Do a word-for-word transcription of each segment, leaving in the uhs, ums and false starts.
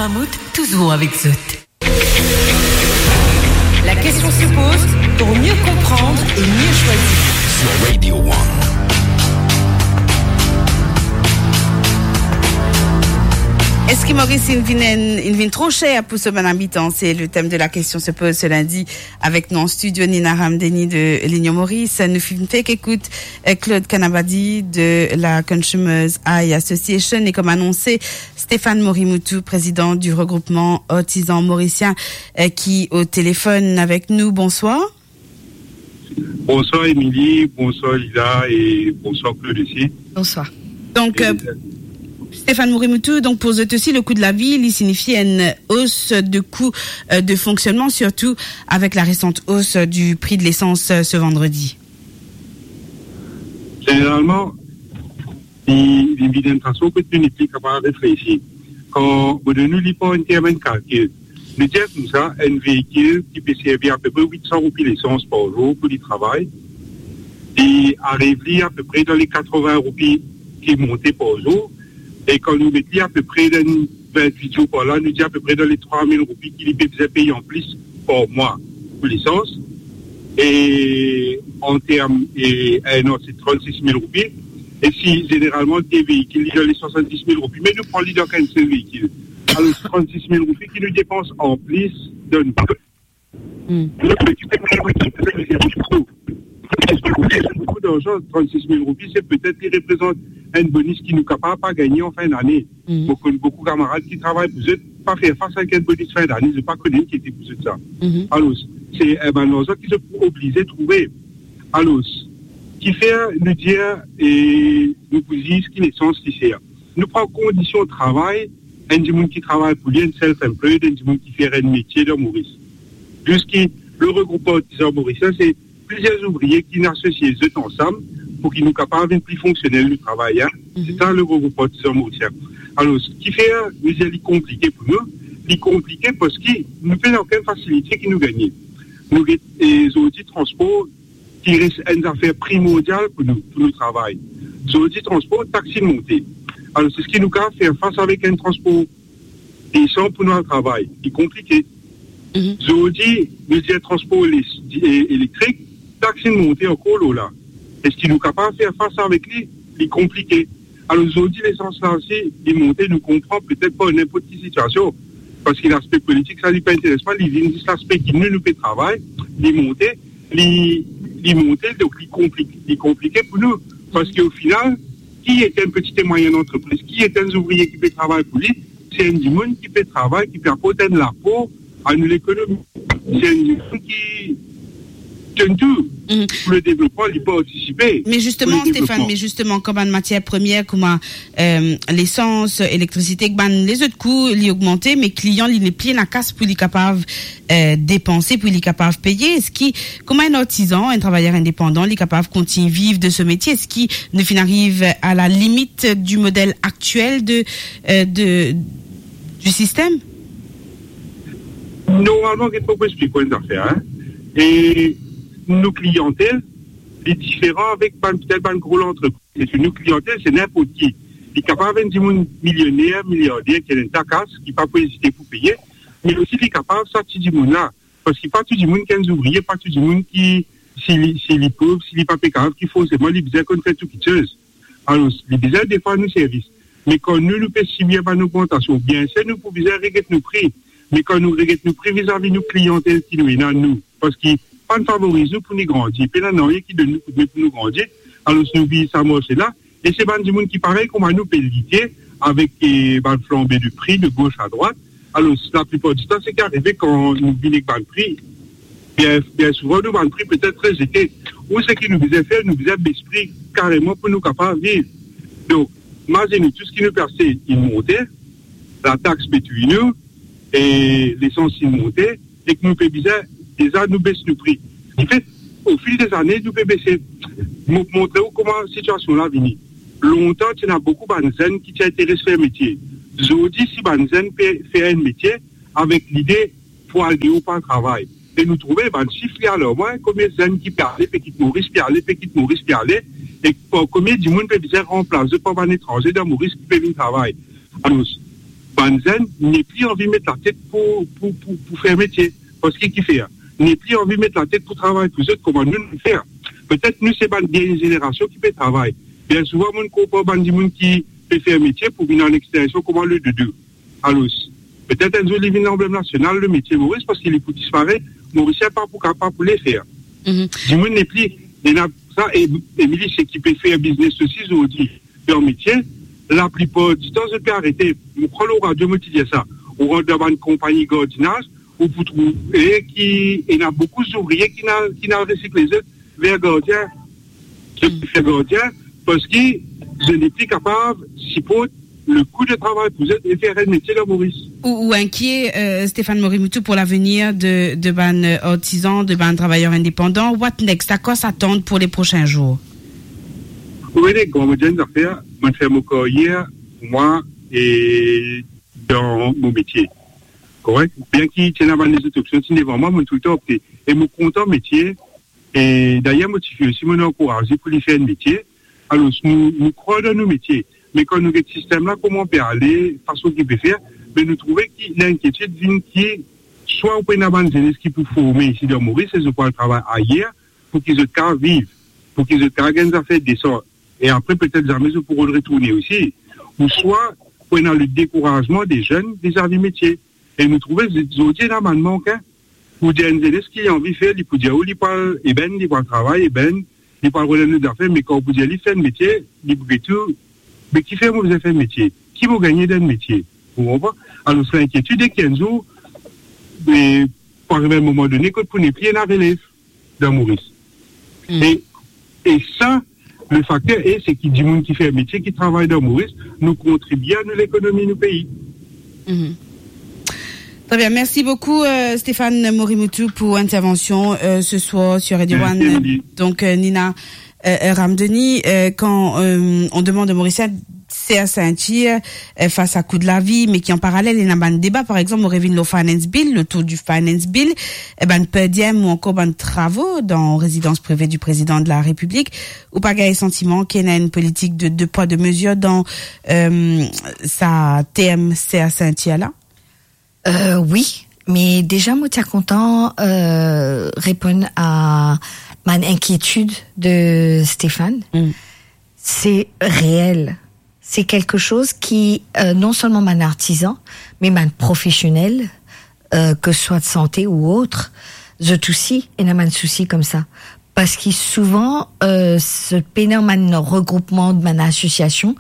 Mammouth, toujours avec zot. La question se pose pour mieux comprendre et mieux choisir. Sur Radio One. Eski Moris inn vinn, inn vinn tro ser pou so bann abitan? C'est le thème de la question se pose ce lundi avec nous en studio Nina Ramdeni de l'Union Maurice. Nou finn fer ekout, euh, Claude Kanabadi de la Consumers Eye Association et comme annoncé, Stéphane Morimoutouh, président du regroupement artisan mauricien, euh, qui au téléphone avec nous. Bonsoir. Bonsoir Émilie, bonsoir Lila et bonsoir Claude aussi. Bonsoir. Donc, euh, Stéphane Morimoutouh, donc pour zot aussi, le coût de la vie, li signifie une hausse de coût, euh, de fonctionnement, surtout avec la récente hausse du prix de l'essence, euh, ce vendredi. Zeneralman, li, li vinn enn fason ki nou nepli kapav reflesir. Kan mo donn nou li par enn term enn kalkil, nou dir koumsa, enn veikil ki pe servi apepre wit san roupi lesans par zour pou li travay, li ariv li apepre dan le katrovin roupi ki monte par zour, e kan nou met li apepre dan vintwit zour par la, nou dir apepre dan le trwa mil roupi ki li pe bizin pey anplis par mwa pou lesans. E an term, e enn an, se trannsis mil roupi. E si zeneralman de veikil, li dan le swasanndis mil roupi, me nou pran li dan enn sel veikil. Alor, trannsis mil roupi ki nou depans anplis dan nou Hmm. Boukou larzan, trannsis mil roupi, se petet li reprezant enn bonis ki nou kapav pa gagne an fin dane. Hmm. Mo konn boukou kamarad ki travay pou zot, pa fer fas avek enn bonis fin dane, zot pa kone ki ete pou zot sa. Mhm. Alor, se, eh, bann larzan ki zot pou oblize trouve. Alor, kifer nou dir, e, nou pou zis ki lesans li ser. Nou pran kondision travay, enn dimoun ki travay pou li, enn self-employed, enn dimoun ki fer enn metie dan Moris. Ziska le regroupman artizan morisien, se plizier zouvrie ki inn asosie zot ansam pou ki nou kapav vinn pli fonksionel nou travay, en. Mhm. Se sa le regroupman artizan morisien. Alor, kifer nou dir li konplike pou nou? Li konplike parski nou pena okenn fasilite ki nou gagne. Nou get, e, zordi transpor ki res enn zafer primordial pou nou, pou nou travay. Zordi, transpor, taksi monte. Alor, eski nou kapav fer fas avek enn transpor desan pou nou al travay? Li konplike. Mhm. Zordi, nou dir transpor les-, di-, e-, elektrik, taksi monte ankor lor la. Eski nou kapav fer fas avek li? Li konplike. Alor, zordi, lesans la osi, li monte, nou konpran, petet pa ninport ki sitiasion, parski laspe politik, sa, li pa interes mwa, li vinn zis laspe ki nou, nou pe travay, li monte, li, li monte, donk li konplik-, li konplike pou nou. Parski o final, ki ete enn petit e mwayenn antrepriz, ki ete enn zouvrie ki pe travay pou li, se enn dimoun ki pe travay, ki pe aport enn lapor a nou lekonomi. Se enn dimoun ki, ki donn tou pou le devlopman, li partisipe pou le devlopman. Me zisteman, Stéphane, me zisteman, kan bann matier premier kouma, e, lesans, elektrisite, ek bann lezot kou, li ogmante, me klian, li nepli ena kas pou li kapav, e, depanse, pou li kapav peye. Eski, kouma enn artizan, enn travayer indepandan, li kapav kontign viv de so metie? Eski nou finn ariv a la limit du model aktiel de, e, de, du sistem? Normalman, get mo pou explik ou enn zafer, en. E nou kliantel, li diferan avek bann, petet bann gro lantrepriz. Epi nou kliantel, se ninport ki. Li kapav enn dimoun milioner, miliarder, ki ena enn ta kas, ki pa pou ezite pou peye, me osi li kapav sa ti dimoun la. Parski pa tou dimoun ki enn zouvrie, pa tou dimoun ki, si li, si li pov, si li pa pe kapav, ki forseman li bizin konn fer tou kiksoz. Alor, li bizin defwa nou servis. Me kan nou, nou pe sibir bann ogmantasion, bienser nou pou bizin reget nou pri. Me kan nou reget nou pri vizavi nou kliantel ki nou ena, nou, parski pa finn favoriz nou pou nou grandi, pena nanye ki donn nou koudme pou nou grandi, alor nou viv sa marse la, e se bann dimoun ki parey kouma nou pe lite avek, e, bann flanbe de pri de gos a drwat. Alor, laplipar ditan, seki arive kan nou vinn ek bann pri, bien, bien souvan, nou bann pri petet rezete. Ou seki nou bizin fer, nou bizin bes pri kareman pou nou kapav viv. Donk, mazinn nou, tou seki nou pe aste, li monte, latax pe touy nou, e lesans li monte, ek nou pe bizin, deza nou bes nou pri. Anfet, o fil dezane, nou pe bese. Mo montre ou kouma sitiasion la vini. Lontan, ti ena boukou bann zenn ki ti interes fer metie. Zordi, si bann zenn pe fer enn metie, avek lide pou al deor pou al travay. E nou trouve bann sif li alarman, konbien zenn ki pe ale, pe kit Moris, pe ale, pe kit Moris, pe ale, e konbien dimoun pe bizin ranplas zot par bann etranze dan Moris ki pe vinn travay. Alor, Bann zenn nepli anvi met latet pou, pou, pou, pou fer metie. Parski ki fer? Nepli anvi met latet pou travay pou zot kouma nou, nou fer. Petet nou se bann dernie zenerasion ki pe travay. Bien souvan, mo konpran bann dimoun ki pe fer metie pou vinn an extension kouma le doudou. Alor, petet enn zour li vinn lanblem nasional, le metie Moris, parski li pou disparet. Morisien pa pou kapav pou le fer. Mhm. Dimoun nepli, ena sa, e, Emily, seki pe fer biznes osi, zordi, dan metie, laplipar ditan, zot pe arete. Mo krwar lor radio, mo ti dir sa. Ou rant dan bann konpagni gardinaz, ou pou trouve ki ena boukou zouvrie ki al, ki al resikle zot ver gardien. Zot pe fer gardien, parski zot nepli kapav siport le kou de travay pou zot e fer enn metie dan Moris. Ou, ou inkie, euh, Stéphane Morimouttou, pour l'avenir de, de bann, euh, artizan, de bann travayer indepandan? What next? À quoi s'attendre pour les prochains jours? Ou vene, kan mo dir enn zafer, mo fer mo karyer pou mwa e dan mo metie. Korek? Bien ki ti ena bann lezot opsion ti devan mwa, mo toultan opte. E mo kontan metie. E dayer, mo tifi osi, mo ankouraze pou li fer enn metie. Alor, nou, nou krwar dan nou metie. Me kan nou get sistem la, kouma pe ale, fason ki pe fer, me nou trouve ki linkietid vinn ki swa ou pena bann zenes ki pou forme isi dan Moris, e zot pou al travay ayer, pou ki zot kapav viv, pou ki zot kapav gagn zafer desan. E apre, petet zame zot pou retourne osi. Ouswa, pou ena le dekourazman de zenn vizavi metie. E nou trouve, zordi, ena bann mank, hein. Pou dir enn zenes ki anvi fer, li pou dir ou li pou al ebenn, li pou al travay ebenn, li pou al rod enn lot zafer, me kan ou pou dir li fer enn metie, li pou get ou, me kifer mo bizin fer metie? Ki mo gagne dan metie? Ou konpran? Alor, se linkietid, e ki enn zour, e, pou ariv enn moman done, kot pou nepli ena relev dan Moris. Hmm. E, e sa, le fakter, e seki dimoun ki fer metie, ki travay dan Moris, nou kontribie a nou lekonomi nou pei. Mhm. Très bien, merci beaucoup, euh, Stéphane Morimouttou, pour intervention, euh, ce soir sur Radio One. Merci, Emily. Donc, euh, Nina, euh, euh, Ramdoni, euh, quand, euh, on demande aux Mauriciens de serrer ceinture, euh, face à coût de la vie, mais qui en parallèle, il y a un débat, par exemple, on revient au Finance Bill, le taux du Finance Bill, eh ben, per diem ou encore ben, travaux dans résidence privée du président de la République, ou pa gagn santiman ki ena enn politik de, de pwa, de mezir dan, euh, sa term serre ceinture la? Euh, wi, me deza mo ti a kontan, euh, reponn a bann inkietid de Stéphane. Mm. Se reel. Se kelke soz ki, euh, non selman bann artizan, me bann profesionel, euh, ke swa de sante ou ot, zot osi ena bann sousi koumsa. Parski souvan, euh, zot pena bann regroupman, bann asosiasion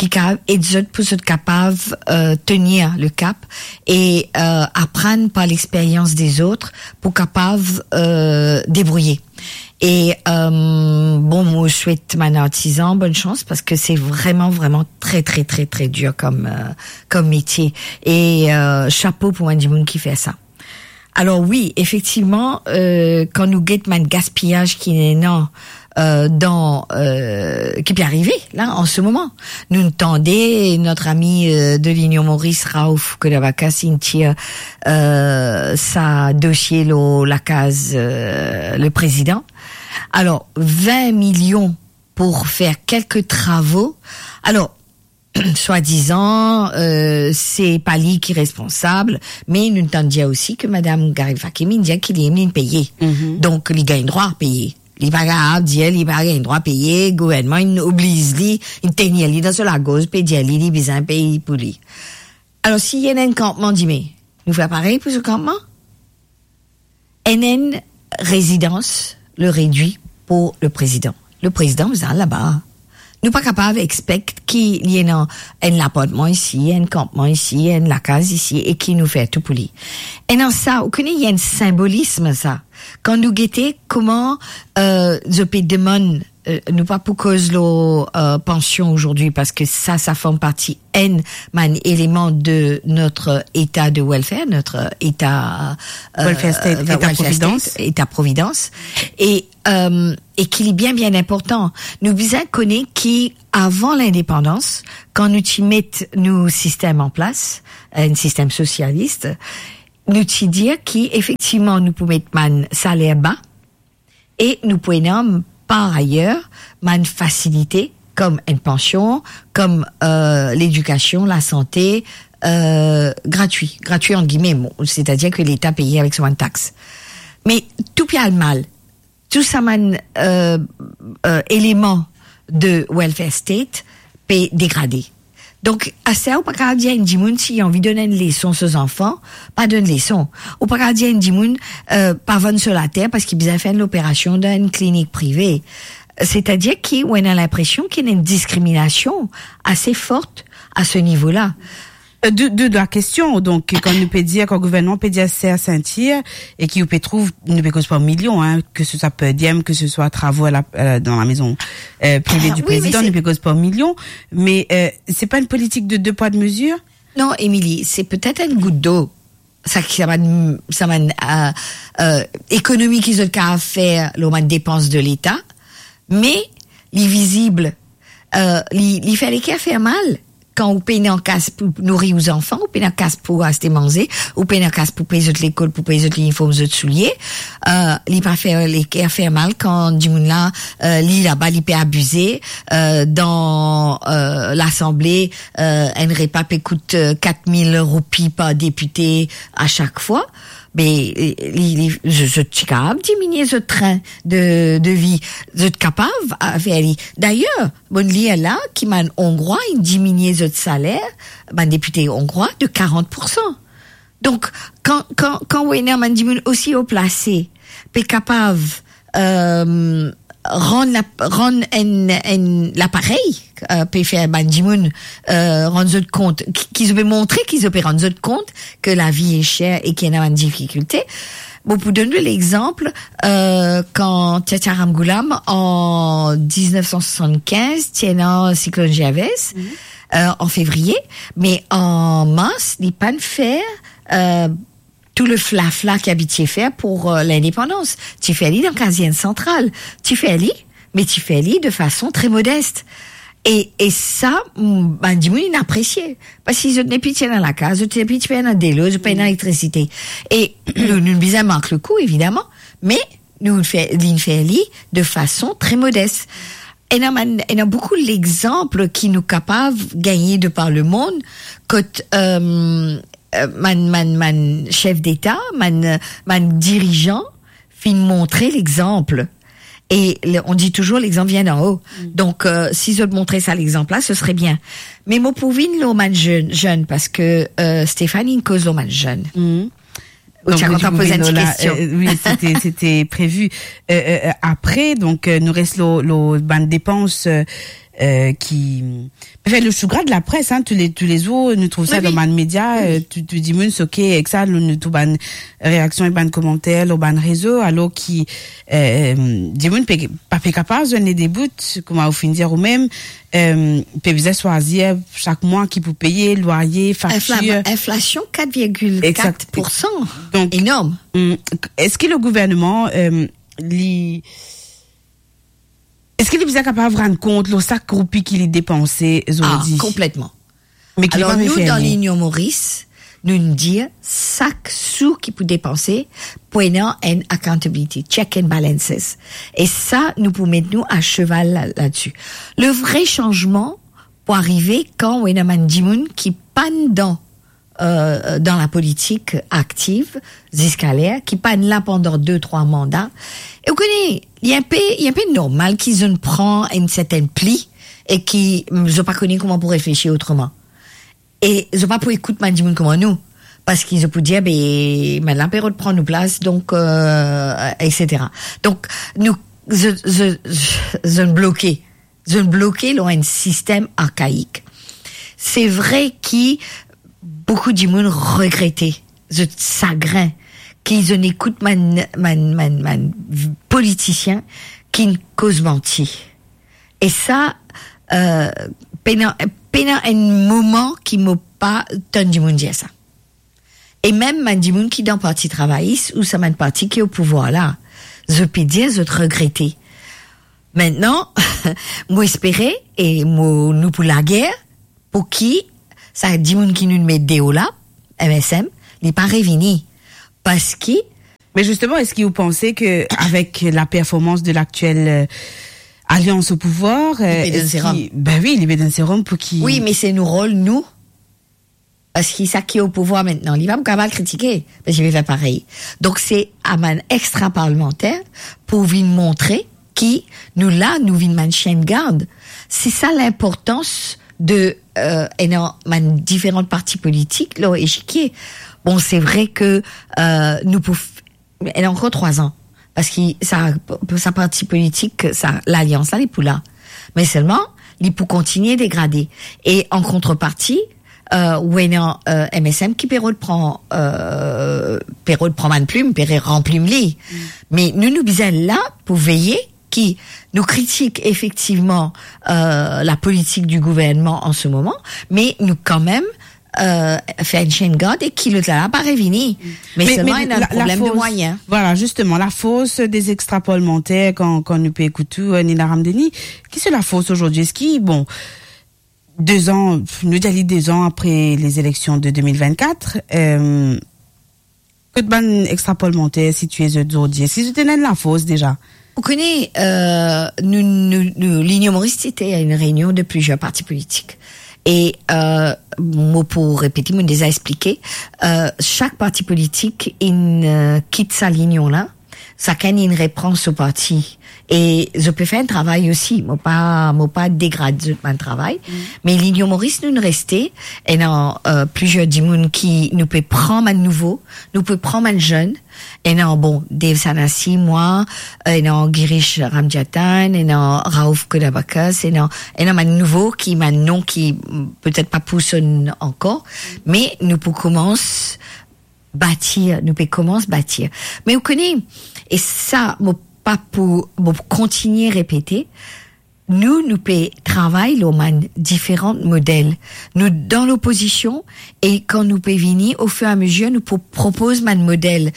ki kapav ed zot pou zot kapav, euh, tenir le kap e, euh, aprann par lexperyans dezot pou kapav, euh, debrouye. E, euh, bon, mo swet bann artizan bonn sans, parski se vreman, vreman tre, tre, tre, tre dir kom, euh, kom metie. E, euh, shapo pou bann dimoun ki fer sa. Alor wi, efektivman, euh, kan nou get bann gaspiyaz ki ena, euh, dan, euh, ki pe arive la, an se moman. Nou tande not ami, euh, de Linion Moris, Raouf Kodavaka, inn tir, euh, sa dosie lor lakaz, euh, le prezidan. Alor, vin milion pou fer kelke travo. Alor, swadizan, euh, se pa li ki responsab, me nou tann dir osi ki madam Garrick-Wakim inn dir ki li mem inn peye. Mhm. Donk, li gagn drwa peye. Li pa kapav dir li pa gagn drwa peye, gouvernman inn obliz li, inn tenir li dan so lagorz, pe dir li, li bizin pey pou li. Alor, si ena enn kanpman dime, nou fer parey pou so kanpman? Enn, enn rezidans le redwi pou le prezidan. Le prezidan bizin al laba. Nou pa kapav expect ki li ena enn lapartman isi, enn kanpman isi, enn lakaz isi, e ki nou fer tou pou li. Ena sa, ou kone, ena enn sinbolism sa. Kan nou gete kouma, euh, zot pe demann, euh, nou pa pou koz lor, euh, pansion azordi, parski sa, sa form parti enn bann eleman de notre état de welfare, notre état, euh, welfare state, euh, état welfare providence. State, état providence. E, euh, e ki li bien, bien inportan. Nou bizin kone ki avan lindepandans, kan nou ti met nou sistem an plas, enn sistem sosialis, nou ti dir ki efektivman nou pou met bann saler ba, e nou pou ena, par ayer, bann fasilite kom enn pansion, kom, euh, ledikasion, lasante, euh, gratwi, gratwi ant gime, bon, setadir ke Leta peye avek so bann tax. Me tou pe al mal, tou sa bann, euh, euh, eleman de welfare state pe degrade. Donk, aster ou pa kapav dir enn dimoun si li anvi donn enn leson so zanfan, pa donn leson. Ou pa kapav dir enn dimoun, euh, pa vann so later parski bizin fer enn loperasion dan enn klinik prive. Setadir ki ou ena linpresion ki ena enn diskriminasion ase fort a se nivo la. Euh, de, de, de la kestion, donk, kan nou pe dir, kan gouvernman pe dir ser sintir, e ki ou pe trouv, nou pe koz par milion, hein, ke se swa per diem, ke se swa travo a la, euh, dan lamezon, euh, prive di prezidan, nou pe koz par milion, me, euh, se pa enn politik de de pwa de mezir? Non, Émilie, se petet enn gout dlo. Sa ki, sa bann, sa bann, euh, euh, ekonomi ki zot kapav fer lor bann depans de Leta, me li vizib, euh, li, li fer leker fer mal. Kan ou pena kas pou nouri ou zanfan, ou pena kas pou aste manze, ou pena kas pou pey zot lekol, pou pey zot liniform, zot soulie, euh, li pa fer leker fer mal kan dimoun la, euh, li laba, li pe abize, euh, dan, euh, Lasanble, euh, enn repa pe kout, euh, kat mil roupi par depite a sak fwa. Me, euh, li, li, zot, zot ti kapav diminie zot trin de, de vi, zot kapav, euh, fer li. Dayer, mo'nn lir la ki bann Ongrwa inn diminie zot saler, bann depite ongrwa, de karant poursan. Donk, kan, kan, kan ou ena bann dimoun osi o plase, pe kapav, euh, rann la, rann enn, enn laparey, euh, pe fer bann dimoun, euh, rann zot kont, ki, ki zot pe montre ki zot pe rann zot kont ke lavi e ser e ki ena bann difikilte. Bon, pou donn ou lexanp, euh, kan Tiatya Ramgoolam, an diznef san swasann-kinz, ti ena siklonn Gervais, euh, an fevriye, me an mars, li pa'nn fer, euh, tou le flafla ki abitie fer pou, euh, lindepandans. Ti fer li dan Kazern Santral. Ti fer li, me ti fer li de fason tre modes. E, e sa, mm, bann dimoun inn apresie. Parski zot nepli ti ena lakaz, zot nepli ti pena delo, zot pena elektrisite. E nou, nou bizin mark le kou, evidaman, me nou fer, li'nn fer li de fason tre modes. Ena bann, ena boukou lexanp ki nou kapav gagne de par lemond, kot, euh, euh, bann, bann, bann sef deta, bann, bann dirizan finn montre lexanp. E le, on dit toujours, l'exemple vient d'en haut. Mm. Donk, euh, si zot montre sa lexanp la, se sere bien. Me mo pou vinn lor bann zenn, zenn, parski, euh, Stéphanie inn koz lor bann zenn. Mm. Ou ti a kontan poz enn ti kestion. Euh, wi, sete, sete previ. Euh, euh, euh, apre, donk, euh, nou res lor, lor bann depans, euh, euh, ki, anfin, le sou gra de la pres, hein, tou le, tou le zour, nou trouv sa dan bann media, euh, tou, tou dimoun soke ek sa, nou, nou trouv bann reaksion ek bann komanter lor bann rezo, alor ki, euh, dimoun pe, pa pe kapav zwenn ledebout, kouma ou finn dir ou mem, euh, pe bizin swazir sak mwa ki pou peye, lwaye, faktir. Infla-, inflasion kat virgil kat poursan. Donk, enorm. Hmm, eski le gouvernman, euh, li, eski li bizin kapav rann kont lor sak roupi ki li depanse zordi? Ah, konpletman. Me ki li pa pe fer li. Alor, nou, dan Linyon Moris, nou dir sak sou ki pou depanse, pou ena enn accountability, check and balances. E sa, nou pou met nou a seval la, ladsi. Le vre sanzman pou arive kan ou ena bann dimoun ki pa'nn dan, euh, dan lapolitik aktiv ziska ler, ki pa'nn la pandan de, trwa manda. E ou kone, li enpe, li enpe normal ki zot pran enn sertenn pli e ki, mm, zot pa kone kouma pou reflesir otreman. E zot pa pou ekout bann dimoun kouma nou, parski zot pou dir, "Be, bann la pe rod pran nou plas, donk, euh, et cetera." Donk, nou, zot, zot, zot bloke, zot bloke lor enn sistem arkaik. Se vre ki boukou dimoun regrete, zot sagrin, ki zot ekout bann, bann, bann, bann politisien ki koz manti. E sa, euh, pena, pena enn moman ki mo pa tann dimoun dir sa. E mem bann dimoun ki dan Parti Travayis ou sa bann parti ki o pouvwar la, zot pe dir zot regrete. Aster, mo espere e mo, nou pou lager pou ki sa dimoun ki nou met deor la, M S M, li pa revini. Parski... Me zisteman, eski ou panse ke avek la performans de laktiel, euh, alians o pouvwar, euh, li pe donn serum? Ben wi, li pe donn serum pou ki... Wi, me se nou rol, nou, Parski sa ki o pouvwar aster, li pa pou kapav kritike, parski li fer parey. Donk, se a bann extra-parlementaire pou vinn montre ki nou la, nou vinn bann sien gard. Se sa linportans de, euh, ena bann diferan parti politik lor lechikie. Bon, se vre ke, euh, nou pou f-, ena ankor trwa an. Parski sa, sa parti politik, sa lalians la, li pou la. Me selman, li pou kontigne degrade. E an kontreparti, euh, ou ena, euh, M S M ki pe repran, euh, pe repran bann plim, pe re-, ranplim li. Mm. Me nou, nou bizin la pou veye ki nou kritik efektivman, euh, la politik di gouvernman an se moman, me nou kanmem, euh, fer enn sien gard e ki lot la, la pa revini. Mm. Me selman, ena enn problem de mwayin. Vwala, zisteman, lafors de extra-parlementaire, kan, kan nou pe ekout ou, euh, Nina Ramdeni, ki se lafors azordi? Eski, bon, de an, nou dir li de an apre lezileksion de de mil vennkat, euh, kot bann extra-parlementaire sitie zot zordi? Eski zot ena enn lafors deza? Ou kone, euh, nou, nou, nou, Linyon Moris ti ena enn reynion de plizier parti politik. E, euh, mo pou repete, mo deza explike, euh, sak parti politik inn, euh, kit sa linyon la, sakenn inn repran so parti. E zot pe fer enn travay osi, mo pa, mo pa degrad zot bann travay. Mm. Me Linyon Moris, nou, nou reste, ena, euh, plizier dimoun ki nou pe pran bann nouvo, nou pe pran bann zenn, ena, bon, Dave Sanasi, mwa, ena Girish Ramjathan, ena Rauf Kodabakas, ena, ena bann nouvo ki, bann non ki, mm, petet pa pou sonn ankor, me nou pou koumans batir, nou pe koumans batir. Me ou kone, e sa, mo pa pou, mo pou kontigne repete, nou, nou pe travay lor bann diferan model. Nou dan lopozision, e kan nou pe vini, ofiramezie, nou pou propoz bann model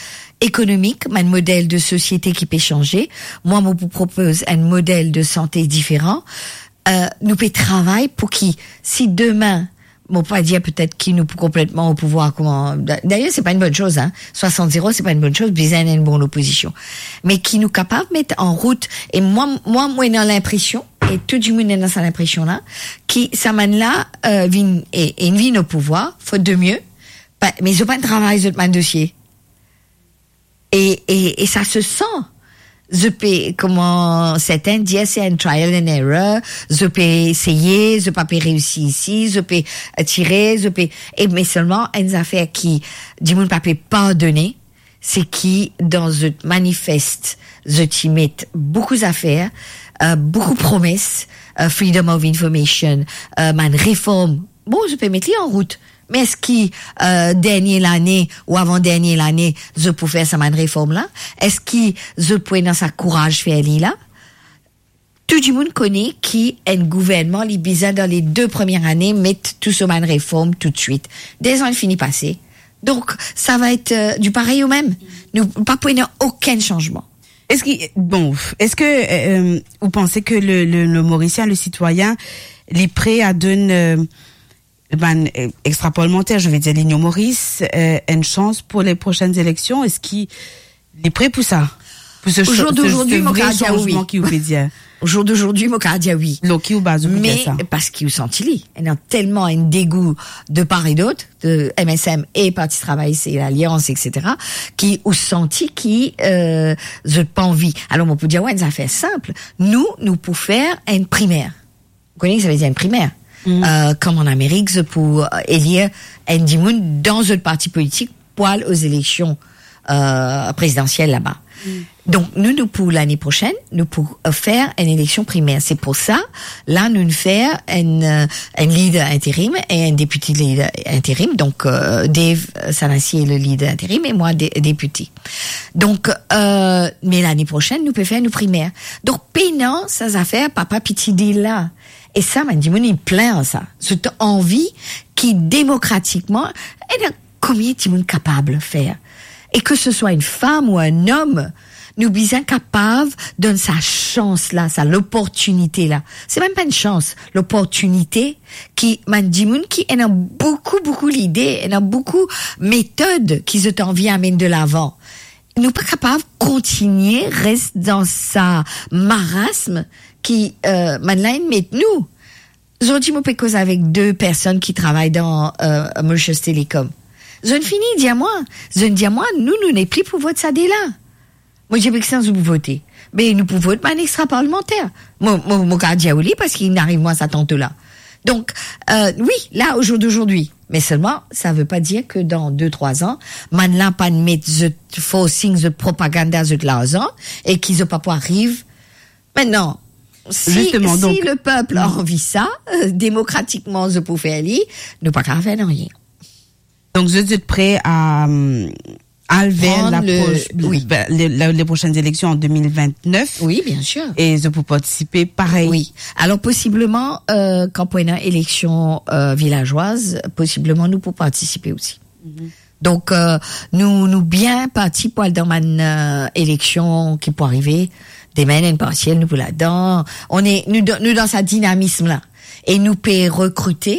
ekonomik, bann model de sosiete ki pe sanze. Mwa, mo pou propoz enn model de sante diferan. Euh, nou pe travay pou ki, si demin, mo pa dir petet ki nou pou konpletman o pouvwar kouma, da-, dayer, se pa enn bonn soz, hein. Swasant zero, se pa enn bonn soz, bizin enn bon lopozision. Me ki nou kapav met an rout, e mwa, mwa, mo ena linpresion, e tou dimoun ena sa linpresion la, ki sa bann la, euh, vinn, e, e vinn o pouvwar, faute de mieux, pa, me zot pa travay zot bann dosie. E, e, e sa se san. Zot pe, kouma sertin dir, se enn trial and error, zot pe eseye, zot pa pe reisi isi, zot pe, euh, tire, zot pe, e me selman enn zafer ki dimoun pa pe pardone, se ki dan zot manifest, zot ti met boukou zafer, euh, boukou promes, euh, freedom of information, euh, bann reform, bon, zot pe met li an rout. Me eski, euh, dernie lane ou avan dernie lane, zot pou fer sa bann reform la? Eski zot pou ena sa kouraz fer li la? Tou dimoun kone ki enn gouvernman, li bizin dan le de premie ane met tou so bann reform toutswit. De zan fini pase. Donk, sa va et, euh, di parey o mem. Nou pa pou ena okenn sanzman. Eski, bon, eski, euh, ou panse ke le, le, le Morisien, le sitwayin, li pre a donn, euh, bann, euh, extra-parlementer, je veux dire, Linyon Moris, euh, enn sans pou le prosenn eleksion? Eski li pre pou sa? Pou se, o zour dozordi, se vre sanzman ki ou pe dir? O zour dozordi, mo kapav dir wi. Lor ki ou baz ou pe dir sa? Me parski ou santi li. Ena telman enn degou de par e dot, de M S M e Parti Travay, se Lalians, et cetera, ki ou santi ki, euh, zot pa anvi. Alor, mo pou dir, wi, enn zafer sinp. Nou, nou pou fer enn primer. Ou kone ki sa ve dir enn primer? Mm. Euh, kouma an Amerik, zot pou, euh, elir enn dimoun dan zot parti politik pou al o zeleksion, euh, prezidansiel laba. Mm. Donk, nou, nou pou lane prosenn, nou pou, euh, fer enn eleksion primer. Se pou sa, la, nou fer enn, euh, enn lider interim e enn depite lider interim. Donk, euh, Dave Sanasi le lider interim e mwa de-, depite. Donk, euh, me lane prosenn, nou pe fer nou primer. Donk, pena sa zafer papa piti deal la. E sa, bann dimoun, inn plin sa. Zot anvi ki demokratikman, e donk, konbien dimoun kapav fer? E ke se swa enn fam ou enn om, nou bizin kapav donn sa sans la, sa loportinite la. Se mem pa enn sans, loportinite ki bann dimoun ki ena boukou, boukou lide, ena boukou metod ki zot anvi amenn de lavan. Nou pa kapav kontigne res dan sa marasm ki, euh, bann la inn met nou. Zordi mo pe koz avek de personn ki travay dan, euh, Mauritius Telecom. Zot fini dir mwa, zot dir mwa, nou, nou nepli pou vot sa de la. Mo dir, "Be ki sa zot pou vote?" "Be nou pou vot bann extra parlemanter." Mo, mo, mo kapav dir ou li, parski inn ariv mwa sa tanto la. Donk, euh, wi, la, au jour d'aujourd'hui. Me selman, sa ve pa dir ke dan de, trwa an, bann la pa met zot forcing, zot propaganda, zot larzan, e ki zot pa pou ariv. Mintnan, si, Zisteman, si donk, le pep anvi sa, euh, demokratikman, zot pou fer li, nou pa kapav fer nanye. Donk, zot, zot pre a, euh, al ver Pran le, lapros-, wi. le, le, le, les prochaines élections en deux mille vingt-neuf. Wi, bien sir. E zot pou partisipe parey. Wi. Alor, posibleman, euh, kan pou ena eleksion, euh, vilazwaz, posibleman nou pou partisipe osi. Mhm. Donk, euh, nou, nou bien parti pou al dan bann, euh, eleksion ki pou arive. Demin, enn parsiel, nou pou ladan. On est, nou dan, nou dan sa dinamism la. E nou pe rekrite,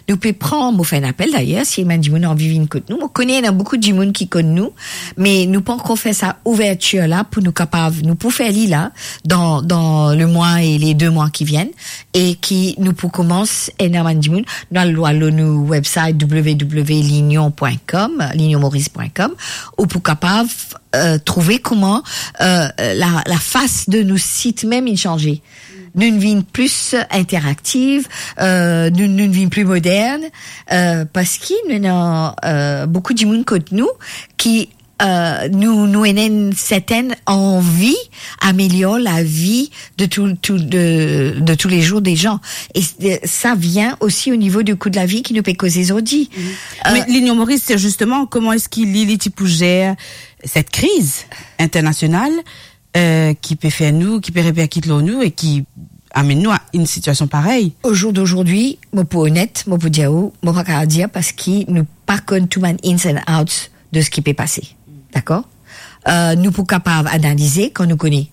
nou pe pran, mo fer enn apel dayer, si bann dimoun anvi vinn kot nou. Mo kone ena boukou dimoun ki konn nou, me nou pankor fer sa ouvertir la pou nou kapav, nou pou fer li la, dan, dan le mwa e le de mwa ki vinn, e ki nou pou koumans ena bann dimoun, nou al lor nou website w w w point l'union point com, l'union maurice point com, ou pou kapav, euh, trouve kouma, euh, la, lafas de nou sit mem inn sanze. Nou vinn plis interaktiv, euh, nou, nou vinn pli modern, euh, parski nou ena, euh, boukou dimoun kot nou ki, euh, nou, nou ena enn sertenn anvi amelior lavi de tou, tou, de, de tous les jours des gens. E, euh, sa vinn osi o nivo de kou de lavi ki nou pe koze zordi. Mhm. Euh, Me L'Union Maurice, c'est justement comment est-ce qu'il, li, li ti pou zer cette crise internationale, euh, ki pe fer nou, ki pe reperkit lor nou e ki amenn nou a enn sitiasion parey. Au jour d'aujourd'hui, mo pou onet, mo pou dir ou, mo pa kapav dir parski nou pa konn tou bann ins and outs de seki pe pase. Dakor? Euh, nou pou kapav analize kan nou kone.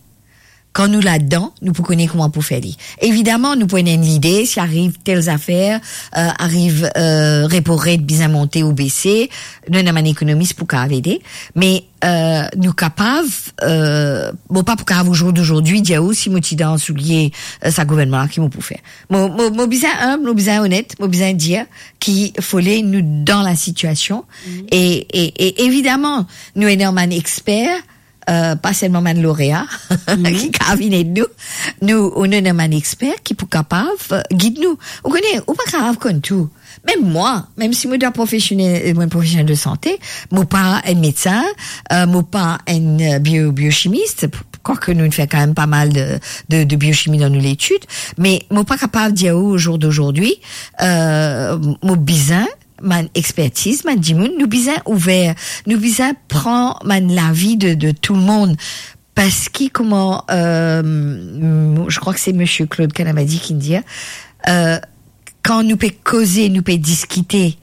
Kan nou ladan, nou pou kone kouma pou fer li. Evidaman, nou pou ena enn lide, si ariv tel zafer, euh, ariv, euh, repo ret bizin monte ou bese, nou ena bann ekonomis pou kapav ede. Me euh, nou kapav, euh, mo pa pou kapav au jour d'aujourd'hui dir ou si mo ti dan soulie, euh, sa gouvernman la, ki mo pou fer. Mo, mo, mo bizin inb, mo bizin onet, mo bizin dir ki fode nou dan la sitiasion. Mhm. E, e, e evidaman, nou ena bann exper, euh, pa selman bann lorea, mhm, ki kapav vinn ed nou. Nou, nou ena bann exper ki pou kapav, euh, gid nou. Ou kone, ou pa kapav konn tou. Mem mwa, mem si mo dan profesionel, mo profesionel de sante, mo pa enn medsin, euh, mo pa enn, euh, bio-, biochimis, kwake nou fer kanmem pa mal de, de, de biochimi dan nou letid, me mo pa kapav dir ou, au jour d'aujourd'hui, euh, mo bizin bann expertiz, bann dimoun, nou bizin ouver, nou bizin pran bann lavi de, de tou lemonn. Parski kouma, euh, je crois que c'est Monsieur Claude Kanamadi ki dir, euh, kan nou pe koze, nou pe diskite,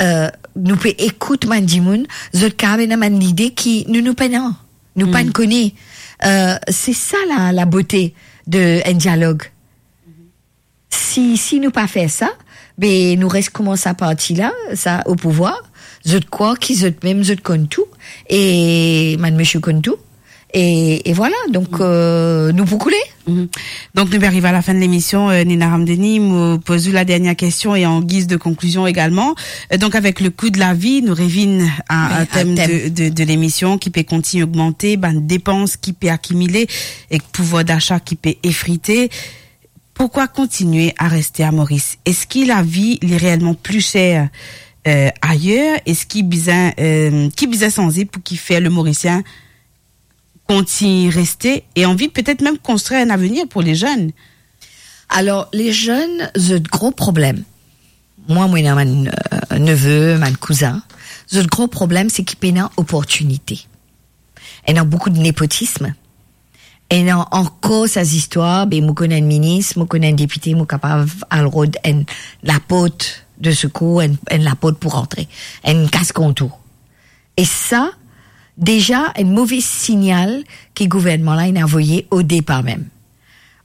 euh, nou pe ekout bann dimoun, zot kapav ena bann lide ki nou, nou pena, nou pa kone. Euh, se sa la, la bote de enn dialog. Si, si nou pa fer sa, be nou res kouma sa parti la, sa o pouvwar, zot krwar ki zot mem zot konn tou, e bann misie konn tou, e, e vwala, donk, euh, nou pou koule. Mhm. Donk, nou pe ariv a la fin de lemision, euh, Nina Ramdeni, mo poz ou la dernie kestion e an giz de konklizion egalman. Euh, donk, avek le kou de lavi, nou revinn a, wi, a tem, tem de, de, de lemision ki pe kontign ogmante, bann depans ki pe akimile ek pouvwar dasa ki pe efrite. Pourkwa kontigne a reste a Moris? Eski lavi li reelman pli ser, euh, ayer? Eski bizin, euh, ki bizin sanze pou ki fer le Morisien kontign reste e anvi petet mem konstrir enn avenir pou le zenn? Alor, le zenn, zot gro problem, mwa, mo ena bann, euh, neve, bann kouzin, zot gro problem, se ki pena oportinite. Ena boukou de nepotism. Ena ankor sa zistwar, be mo konn enn minis, mo konn enn depite, mo kapav al rod enn laport de sekour, enn, enn laport pou rantre, enn kas kontour. E sa, deza enn move signal ki gouvernman la inn avoye o depar mem.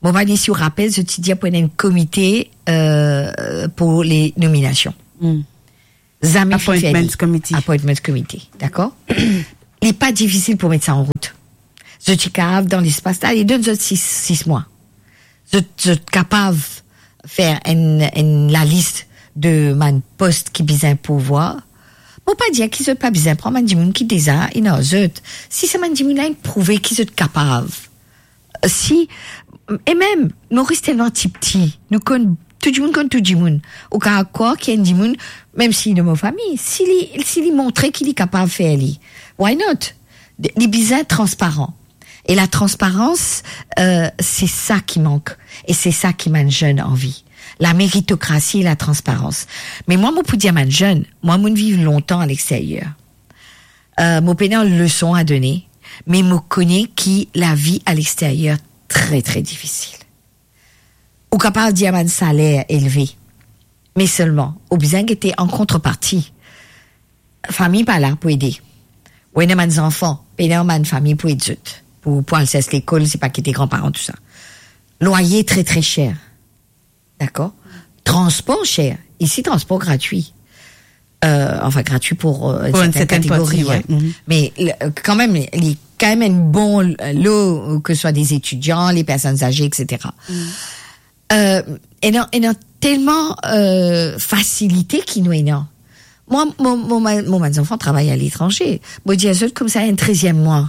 Mo pa kone si ou rapel, zot ti dir pou ena enn komite, euh, pou le nominasion. Hmm. Zame finn fer li. Appointments committee. Appointments committee, dakor? Li pa difisil pou met sa an rout. Zot ti kapav dan lespas la, li donn zot sis, sis mwa. Zot, zot kapav fer enn, enn lalis de bann pos ki bizin pourvwar. Mo pa dir ki zot pa bizin pran bann dimoun ki deza ena zot. Si sa bann dimoun la inn prouve ki zot kapav, si, e mem, Moris telman pti, nou konn, tou dimoun konn tou dimoun. Ou kapav krwar ki enn dimoun, mem si li dan mo fami, si li, si li montre ki li kapav fer li, why not? Li bizin transparan. E latransparans, euh, se sa ki mank. E se sa ki bann zenn anvi. Lameritokrasi e latransparans. Me mwa, mo pou dir bann zenn, mwa, mo'nn viv lontan alexteryer. Euh, mo pena leson a done, me mo kone ki lavi alexteryer tre, tre difisil. Ou kapav dir bann saler elve, me selman, ou bizin gete an kontreparti. Fami pa la pou ede. Ou ena bann zanfan, pena bann fami pou ed zot. Pou, pou al sers lekol, se pa kite granparan, tousa. Lwaye tre, tre ser. Dakor? Transpor ser. Isi, transpor gratwi. Euh, anfin, gratwi pou, euh, enn sertin kategori, hein. Pou enn sertin parti, ouais. Mhm. Me, le, kanmem, li kanmem enn bon lo, ke swa de zetidian, le personn aze, et cetera. Mhm. Euh, ena, ena telman, euh, fasilite ki nou ena. Mwa, mo, mo, mo, mo bann zanfan travay aletranze. Mo dir zot koumsa enn treziem mwa.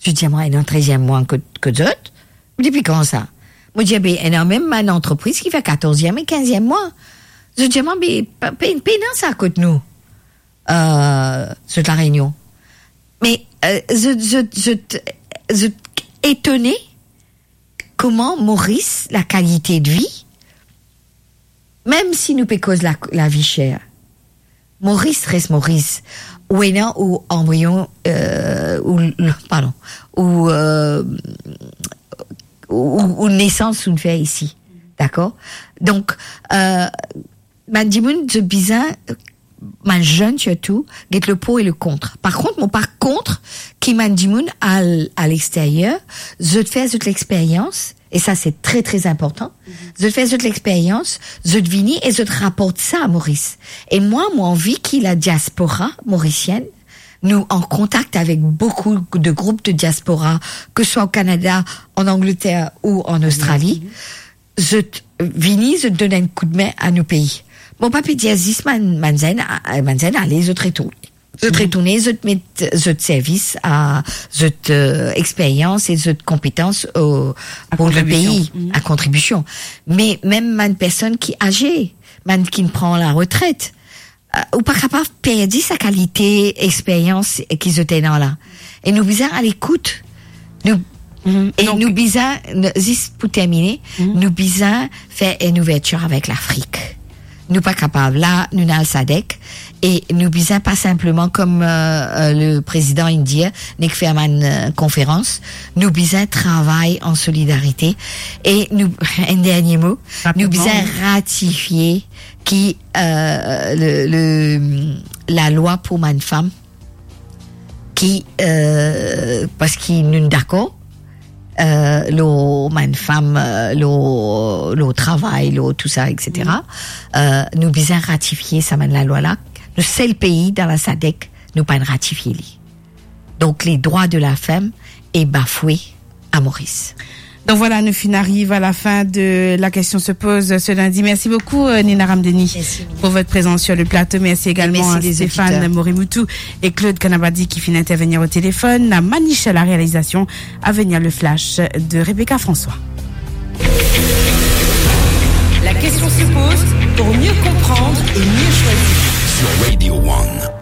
Zot dir mwa, ena enn treziem mwa kot, kot zot? Depi kan sa? Mo dir, be, ena mem bann antrepriz ki fer katorz e kinz mwa. Zot dir mwa, be, pe-, pe-, pena sa kot nou. Euh, zot La Rényon. Me, euh, zot, zot, zot, zot etone kouma Moris, lakalite de vi, mem si nou pe koz la, lavi ser, Moris res Moris. Ou ena ou anbriyon, euh, ou, pardon, ou, euh, ou, ou nesans ou'nn fer isi. Dakor? Donk, euh, bann dimoun, zot bizin, bann zenn sirtou, get le pour et le contre. Par kont, mo pa kont ki bann dimoun al, alexteryer, zot fer zot lexperyans, e sa se tre, tre inportan, zot fer zot lexperyans, zot vini e zot raport sa a Moris. E mwa, mo anvi ki ladiaspora morisienn, nou an kontak avek boukou de group de diaspora, ke swa o Kanada, an Angleter ou an Ostrali, zot vini, zot donn enn koudme a nou pei. Mo pa pe dir zis bann, bann zenn, a, bann zenn ale, zot retourne. Zot retourne, zot met zot servis a, zot, euh, experyans e zot konpetans o, pou le pei, a kontribision. Me mem bann personn ki aze, bann ki pran laretret, euh, ou pa kapav perdi sa kalite experyans ki zot ena la. E nou bizin al ekout. Nou, e donk nou bizin, n-, zis pou termine, nou bizin fer enn ouvertir avek Lafrik. Nou pa kapav la, nou'nn al sadek, e nou bizin pa sinpleman kom, euh, euh, le prezidan inn dir, nek fer bann, euh, konferans, nou bizin travay an solidarite, e nou, enn dernie mo, nou bizin ratifie ki, euh, le, le, lalwa pou bann fam, ki, euh, parski nou dakor, euh, lor bann fam, euh, lor, lor travay, lor tousa, et cetera. Euh, nou bizin ratifie sa bann lalwa la. Nou sel pei dan la sadek, nou pa'nn ratifie li. Donk, le drwa de la fam e bafwe a Moris. Donc voilà, nous fin arrive à la fin de La Question se pose ce lundi. Merci beaucoup, euh, Nina Ramdeni, pour votre présence sur le plateau. Merci également à Stéphane Morimoutou et Claude Kanabadi qui finit intervenir au téléphone, à Maniche à la réalisation, à venir le flash de Rebecca François. La question se pose pour mieux comprendre et mieux choisir. Sur Radio One.